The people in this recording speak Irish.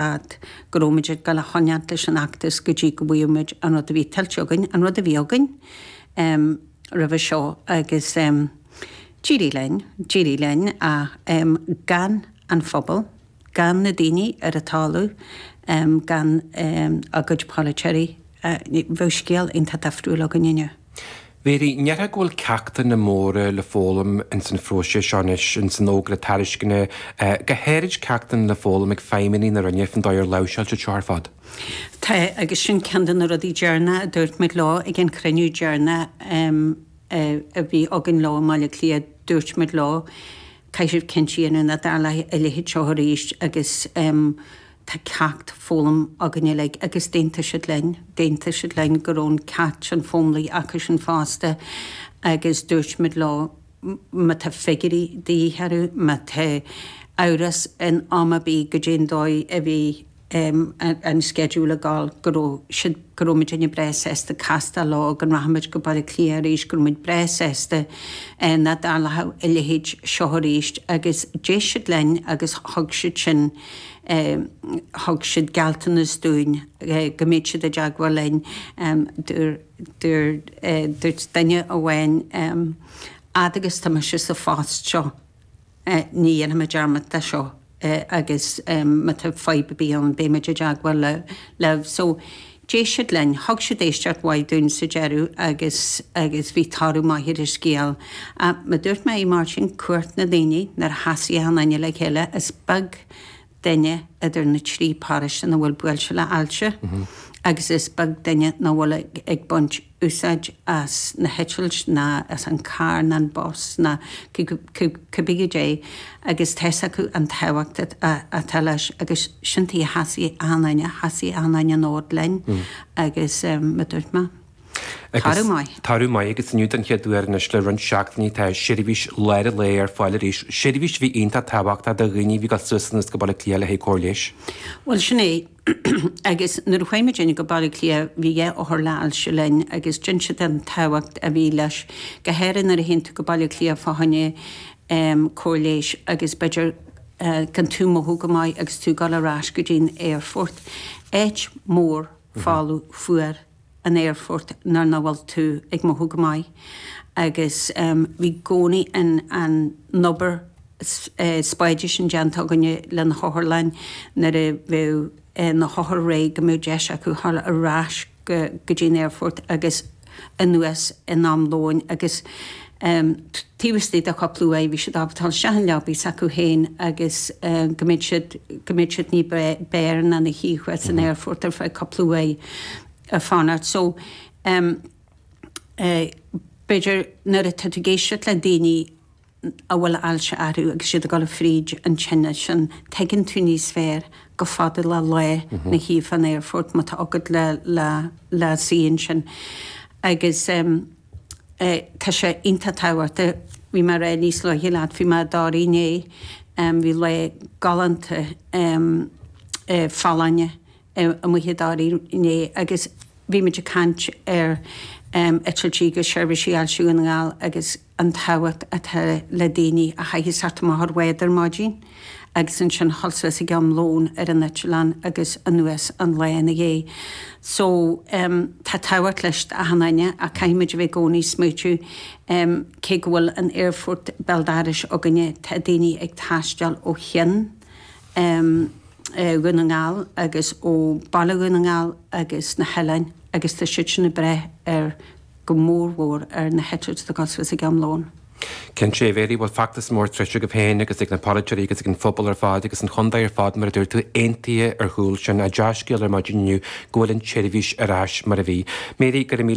Fad go raibh muid ag dul a choinneáilt leis an fheachtas go dtí go bhfaigheadh muid an rud a bhí tuillte againn, an rud a bhí againn roimhe seo agus d'éirigh linn, d'éirigh linn ach gan an phobal, gan na daoine ar an talamh, gan a gcuid polaiteoirí, bheadh scéal iontach difriúil againn inniu. Mary, an ndéarfá go bhfuil ceachtanna móra le foghlaim ins an phróiseas seo anois, ins an fhógra tairisceana, go háirid ceachtanna le foghlaim ag feidhmeannaigh na Roinne fán dóigh ar láimhseáil siad seo ar fad? Tá, agus sin ceann de na rudaí deireanacha a dúirt muid leo ag an chruinniú deireanach a bhí againn leo i mBaile Átha Cliath, dúirt muid leo, caithfidh sibh cinnte a dhéanamh nach dtarlóidh a leithéid seo arís agus Tá ceacht foghlamtha againn uilig agus d'aontaigh siad linn, d'aontaigh siad linn go raibh an ceacht sin foghlamtha acusan fosta agus dúirt muid leo má tá figiúirí de dhíth orthu, má tá amhras in am ar bith goidé an dóigh a bhí an sceideal ag dul, go raibh siad, go raibh muidinne breá sásta castáil leo, go rachadh muid go Baile Átha Cliath arís, go raibh muid breá sásta nach dtarlódh a leithéid seo arís agus d'éist siad linn agus thug siad sin Thug siad gealltanas dúinn go mbeadh siad i dteagmháil linn. Dúirt duine amháin, Fhad agus tá mise sa phost seo, ní dhéanfaidh mé dearmad de seo agus má tá fadhb ar bith ann, beidh muid i dteagmháil libh. So, D'éist siad linn, thug siad éisteacht mhaith dúinn sa deireadh agus agus bhí toradh maith ar an scéal. Ach mar dúirt mé, a Mháirtín, cumhacht na ndaoine, nuair a sheasaigh achan duine le chéile, is beag duine idir na trí paróiste nach bhfuil buailte le hailse agus is beag duine nach bhfuil ag baint úsáid as na heitilt ná as an carr ná an bus ná cibé goidé agus tá's acu an tábhacht atá leis agus sin tuige a sheasaigh achan duine, sheasaigh achan duine an fhód linn agus mar dúirt mé, toradh maith. Toradh maith agus inniu den chéad uair anois le roinnt seachtainí tá seirbhís lár an lae ar fáil arís, seirbhís a bhí iontach tábhachtach do dhaoine a bhí ag dul suas anuas go Baile Átha Cliath le haghaidh cóir leighis. Bhuel sin é. Agus nuair a chuaigh muidinne go Baile Átha Cliath bhí 2 othar le ailse linn agus d'inis siad an tábhacht a bhí leis, go háirithe nuair a théann tú go Baile Átha Cliath fá choinne cóir leighis agus b'fhéidir gan tú mothú go maith agus tú ag dul ar ais go dtí an aerfort. Áit mór folamh fuar an aerfort nuair nach bhfuil tú ag mothú go maith agus bhí i gcónaí an an obair spáide sin déanta againne le na hotharlanna nuair a bheadh na hothair réidh go mbeadh deis acu dhul ar ais go go dtí an aerfort agus anuas in am lóin agus taobh istigh de chúpla uair bhí siad ábalta dul isteach in leabaí s'acu féin agus go mbeadh siad go mbeadh siad ní b'fhearr ná ina shuí thuas san aerfort ar feadh cúpla uair ag fanacht. So b'fhéidir nuair atá tú ag éisteacht le daoine a bhfuil ailse orthu agus iad ag dul fríd an tinneas sin, tuigeann tú níos fearr go fada le lá ina shuí fán aerfort má tá agat le le le suí ansin. Agus tá sé iontach tábhachtach, bhí mé ag rá níos luaithe leat, bhí mé i dToraigh inné, bhí lá galánta folláine amuigh i dToraigh inné agus bhí muid ag caint ar eitiltí agus seirbhísí Ailse Dhún na nGall agus an tábhacht atá le daoine a chaithfidh teacht amach ar bhád ar maidin agus ansin dhul suas ag am lóin ar an eitleán agus anuas an lá ina dhiaidh. So tá tábhacht leis d'achan duine ach caithfidh muid a bheith i gcónaí ag smaoitiú cé go bhfuil an aerfort béal dorais againne tá daoine ag taisteal ó cheann Dhún na nGall agus ó Baile Dhún na nGall agus na hoileáin agus tá siad sin ag brath ar go mór mhór ar na heitiltí atá ag dul suas ag am lóin. Cinnte, a Mhary, bhfuil feachtas mór troidte agaibh féin agus ag na polaiteoirí agus ag an phobal ar fad agus an chontae ar fad mar a dúirt tú, aontaithe ar chúl sin. Dea-scéal ar maidin inniu go bhfuil an tseirbhís ar ais mar a bhí. Mary, go raibh míle.